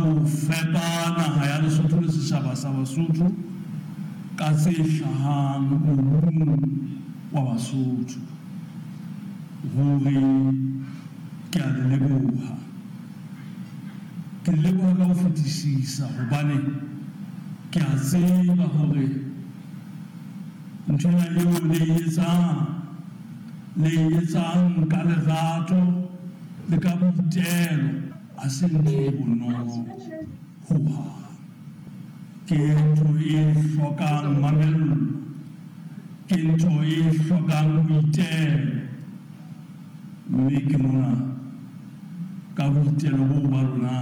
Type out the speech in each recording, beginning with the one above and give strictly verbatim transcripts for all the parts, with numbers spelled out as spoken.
ho fepa naha ya Lesotho le setjhaba sa Basotho ka tse hlahang mobung wa Basotho. Ruri ke a le leboha. Ke le leboha ka ho fetisisa hobane ke a tseba hore ntho ena eo le e etsang, le e etsang ka lerato le ka boitelo, ha se ntho e bonolo hohang. Ke ntho e hlokang mamello, ke ntho e hlokang boitelo. Mme ke mona ka boitelo boo ba lona,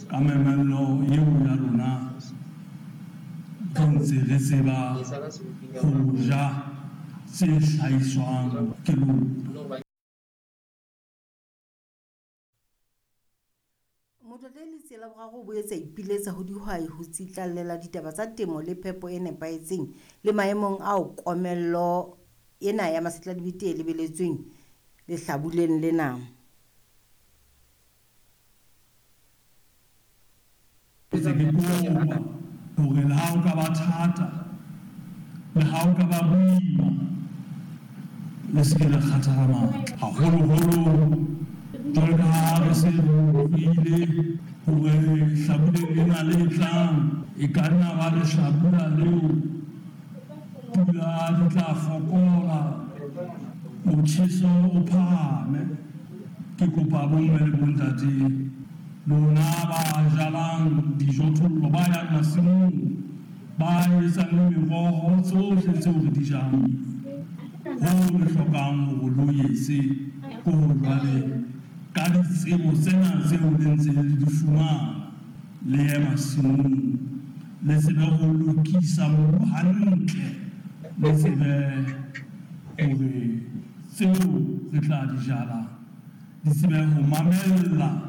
ka mamello eo ya lona, re ntse re tseba ho ja tse hlahiswang ke lona. Motlotlehi Letsie la Boraro o boetse a ipiletsa ho dihwai ho tsitlallela ditaba tsa temo le phepo e nepahetseng le maemong ao komello ena ya masetladibete e lebeletsweng lehlabuleng lena. Ke kopa hore le ha o ka ba thata, le ha o ka ba boima, le se ke la kgathala matla. Haholoholo jwalo ka ha re se re utlwile hore hlabuleng lena le tlang e ka nna ba lehlabula leo pula di tla fokola, motjheso o phahame. Ke kopa bomme le bontate lona ba jalang dijothollo, ba yang masimong, ba etsang le meroho, tsohle tseo re di jang, hoo re hlokang hore lo etse ke hore jwale ka ditsebo tsena tseo le ntseng le di fumana, le ye masimong, le tsebe ho lokisa mobu hantle, le tsebe hore tseo re tla di jala di tsebe ho mamella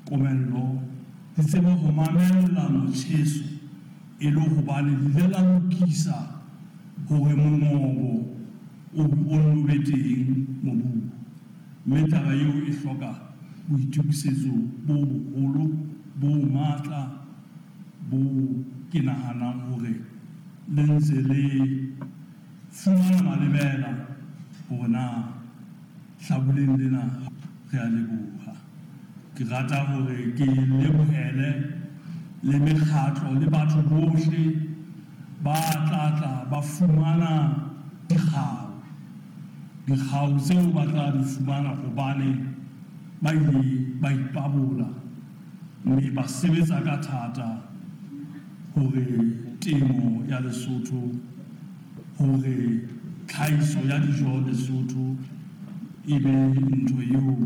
komello, di tsebe ho mamella motjheso, e le hobane le ile la lokisa hore mongobo o nno be teng mobung. Mme taba eo e hloka boitokisetso bo boholo, bo matla, bo ke nahanang hore le ntse le fumana malebela hore na hlabuleng lena re a leboha. Ke rata hore ke lebohele le mekgatlo le batho bohle ba tla tla ba fumana dikgau. Dikgau tseo ba tla di fumana hobane ba ile ba ipabola mme ba sebetsa ka thata hore temo ya Lesotho, hore tlhahiso ya dijo Lesotho e be ntho eo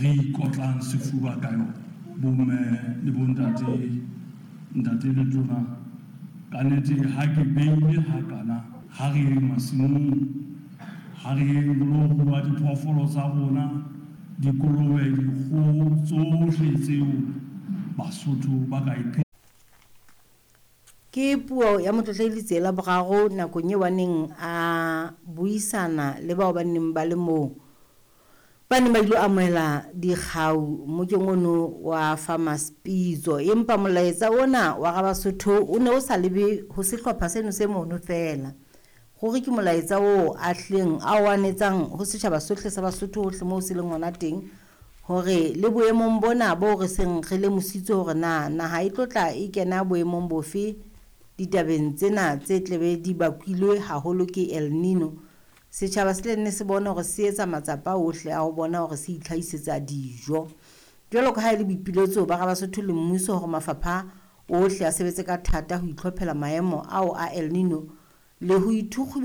re ikotlang sefuba ka yona. Bomme le bontate, ntate le tona, ka nnete ha ke beile hakana, ha re yeng masimong, ha re yeng ho lo rua diphoofolo tsa rona, dikolobe, dikgoho, tsohle tseo Basotho ba ka iphe. Ke puo ya Motlotlehi Letsie la Boraro nakong eo a neng a buisana le bao ba neng ba le moo, ba neng ba ilo amohela dikgau mokeng ono wa Farmers Pitso. Empa molaetsa ona wa Rabasotho o ne o sa lebe ho sehlopha seno se mono feela. Ruri ke molaetsa oo a hlileng a o anetsang ho setjhaba sohle sa Basotho hohle moo se leng hona teng, hore le boemong bona bo re seng re lemositswe hore na naha e tlo tla e kena boemong bofe ditabeng tsena tse tlebe di bakilwe haholo ke El Nino. Setjhaba se tla nne se bone hore se etsa matsapa ohle a ho bona hore se itlhahisetsa dijo. Jwalo ka ha e le boipiletso ba Rabasotho le mmuso hore mafapha ohle a sebetse ka thata ho itlhophela maemo ao a El Nino le ho ithukgube